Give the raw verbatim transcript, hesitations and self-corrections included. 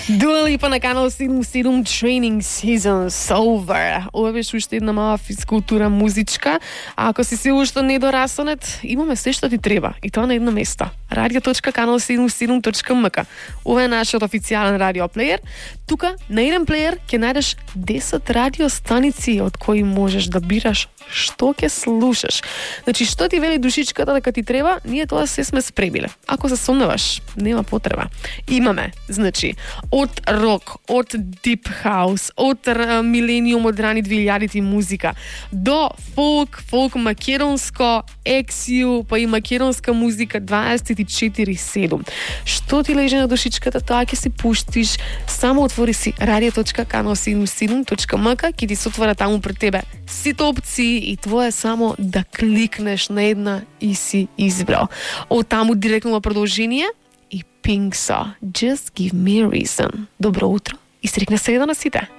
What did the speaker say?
Dua Lipa на канал седум седум Training Seasons Over. Ова беше уште една мала физкултура музичка. А ако си се уште недораснат, имаме се што ти треба. И тоа на едно место. радио точка канал седум седум точка ем ка. Ова е нашиот официјален радиоплеер. Тука на еден плеер ќе најдеш десет радиостаници од кои можеш да бираш што ќе слушаш. Значи, што ти вели душичката дека ти треба, ние тоа се сме спремиле. Ако се сомневаш, нема потреба. Имаме, значи, од рок, од дип хаус, од милениум, од рани двилјадити музика, до фолк, фолк македонско, ексју, па и македонска музика дваесет и четири седум. Што ти лежи на душичката, тоа ќе си пуштиш. Само отвори си радио точка канал седум седум точка ем ка, ќе ти се отвора таму пред тебе сите опции и твое е само да кликнеш на една и си избрал. Од таму директно во продолжение и Pink со Just Give Me a Reason. Добро утро и срекна среда на сите.